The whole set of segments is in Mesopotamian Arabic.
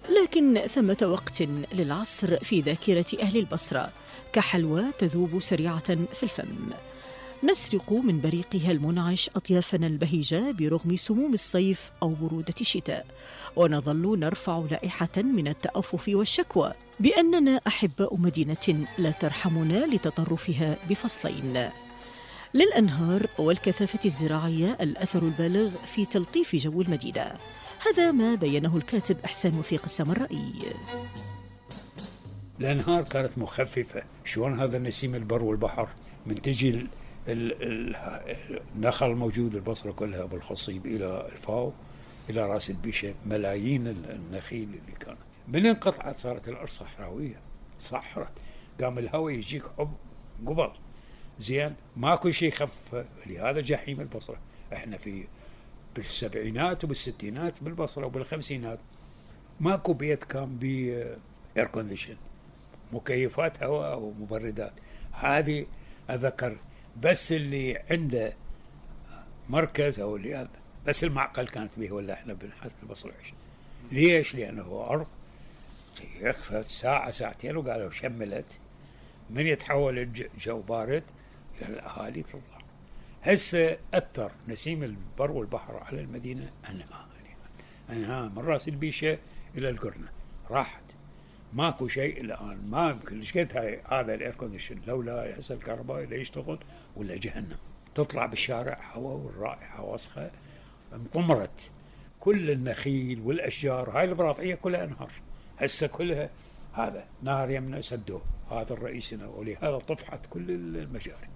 لكن ثمة وقت للعصر في ذاكرة أهل البصرة كحلوى تذوب سريعة في الفم. نسرق من بريقها المنعش أطيافنا البهيجة برغم سموم الصيف أو برودة الشتاء، ونظل نرفع لائحة من التأفف والشكوى بأننا أحباء مدينة لا ترحمنا لتطرفها بفصلين. للأنهار والكثافة الزراعية الأثر البالغ في تلطيف جو المدينة، هذا ما بينه الكاتب إحسان وفيق السمرائي. الأنهار كانت مخففة. شلون هذا نسيم البر والبحر من تجي النخل الموجود بالبصرة كلها بالخصيب إلى الفاو إلى راس البيشة، ملايين النخيل اللي كانت من انقطعت صارت الأرض صحراوية، صحرت، قام الهواء يجيك قبل زين، ماكو شيء خف. لهذا جحيم البصرة. احنا بالسبعينات وبالستينات بالبصرة وبالخمسينات ماكو بيت كان اير كونديشن، مكيفات هواء ومبردات. هذه اذكر بس اللي عنده مركز او اللي بس المعقل كانت به، ولا احنا بنحط البصرة عيش. ليش؟ لانه ارض يخفى ساعة ساعتين وقالوا شملت، من يتحول الجو بارد الاهالي تطلع. هسه اثر نسيم البر والبحر على المدينة انها من راس البيشة الى القرنة راحت، ماكو شيء الان. ما يمكن لشقد هذا الاير كونديشن لولا هسه الكهرباء لا يشتغل ولا جهنم. تطلع بالشارع هواء والرائحة وسخة، انطمرت كل النخيل والاشجار. هاي البراطعية كلها انهار هسه، كلها هذا نهر يمنا سدوه، هذا الرئيسنا، ولهذا طفحت كل المجاري.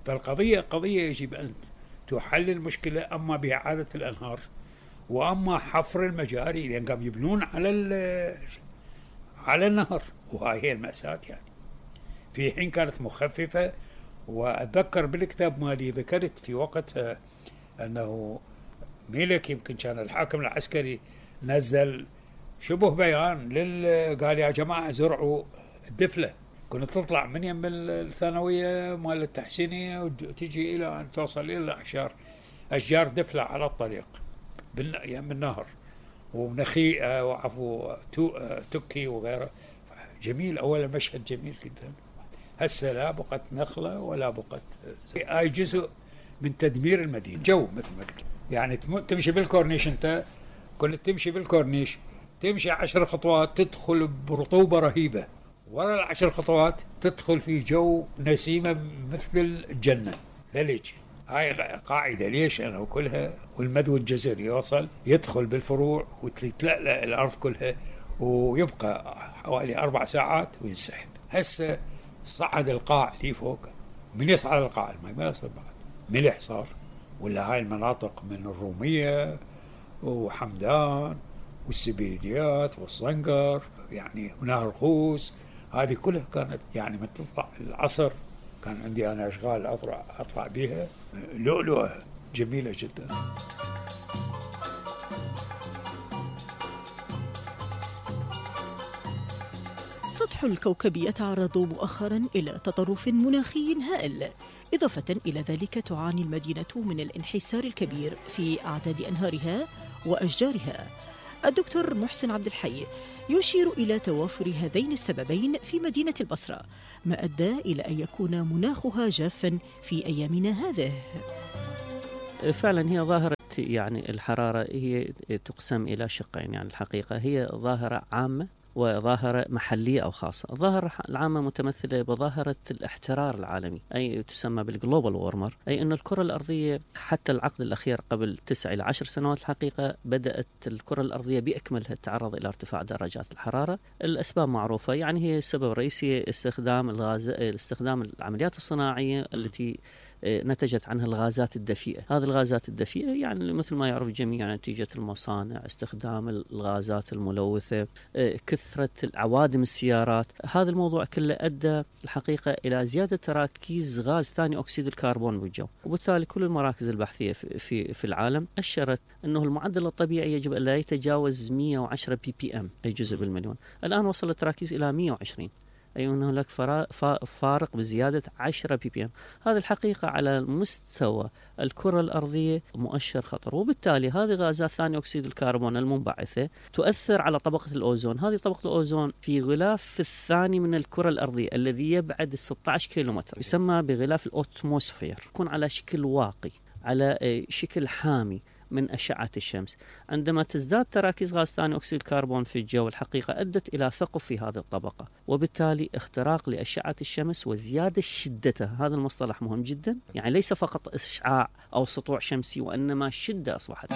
فالقضية قضية يجب أن تحل المشكلة، أما بإعادة الأنهار وأما حفر المجاري، لأن قام يبنون على النهر، وهاي هي المأساة يعني. في حين كانت مخففة. وأتذكر بالكتاب مالي ذكرت في وقتها أنه ميلك يمكن كان الحاكم العسكري نزل شبه بيان قال يا جماعة زرعوا الدفلة. كنت تطلع من يم الثانوية مال التحسينية وتجي إلى أن توصل إلى أشجار دفلة على الطريق يم النهر، ونخيئة وعفو تكي وغيره. جميل، أولا مشهد جميل جدا. هسه لا بقت نخلة ولا بقت. هاي جزء من تدمير المدينة. جو مثل ما قلت يعني، تمشي بالكورنيش، أنت كنت تمشي بالكورنيش تمشي 10 خطوات تدخل برطوبة رهيبة، وراء 10 خطوات تدخل في جو نسيمة مثل الجنة. ثلج. هاي قاعدة. ليش؟ أنا كلها والمدو الجزري يوصل يدخل بالفروع وتتلألأ الأرض كلها، ويبقى حوالي 4 ساعات وينسحب. هسه صعد القاع لي فوق. من يصعد القاع؟ الماء ما يصل بعد، ملح صار. ولا هاي المناطق من الرومية وحمدان والسبيليات والصنقر يعني ونهر خوس، هذه كلها كانت يعني من تطلع العصر كان عندي أنا أشغال أطلع بها لؤلؤة جميلة جدا. سطح الكوكب يتعرض مؤخرا إلى تطرف مناخي هائل، إضافة إلى ذلك تعاني المدينة من الانحسار الكبير في أعداد أنهارها وأشجارها. الدكتور محسن عبد الحي يشير إلى توافر هذين السببين في مدينة البصرة، ما أدى إلى أن يكون مناخها جافا في أيامنا هذه. فعلا هي ظاهرة يعني الحرارة هي تقسم إلى شقين. يعني الحقيقة هي ظاهرة عامة وظاهرة محلية أو خاصة. الظاهرة العامة متمثلة بظاهرة الاحترار العالمي، أي تسمى بالجلوبال وورمر، أي أن الكرة الأرضية حتى العقد الأخير قبل 9 إلى 10 سنوات الحقيقة بدأت الكرة الأرضية بأكملها تتعرض إلى ارتفاع درجات الحرارة. الأسباب معروفة، يعني هي السبب الرئيسي استخدام العمليات الصناعية التي نتجت عنها الغازات الدفيئة. هذه الغازات الدفيئة يعني مثل ما يعرف الجميع نتيجة المصانع، استخدام الغازات الملوثة، كثرة عوادم السيارات. هذا الموضوع كله أدى الحقيقة إلى زيادة تراكيز غاز ثاني أكسيد الكربون بالجو، وبالتالي كل المراكز البحثية في العالم أشرت أنه المعدل الطبيعي يجب أن لا يتجاوز 110 ppm أي جزء بالمليون. الآن وصل التراكيز إلى 120. أي أن هناك فارق بزيادة 10 ppm. هذه الحقيقة على مستوى الكرة الأرضية مؤشر خطر، وبالتالي هذه غازات ثاني أكسيد الكربون المنبعثة تؤثر على طبقة الأوزون. هذه طبقة الأوزون في غلاف الثاني من الكرة الأرضية الذي يبعد 16 كيلومتر، يسمى بغلاف الأوتموسفير، يكون على شكل واقي، على شكل حامي من أشعة الشمس. عندما تزداد تراكيز غاز ثاني أكسيد الكربون في الجو، الحقيقة أدت إلى ثقب في هذه الطبقة، وبالتالي اختراق لأشعة الشمس وزيادة شدتها. هذا المصطلح مهم جدا، يعني ليس فقط إشعاع أو سطوع شمسي، وإنما شدة أصبحت.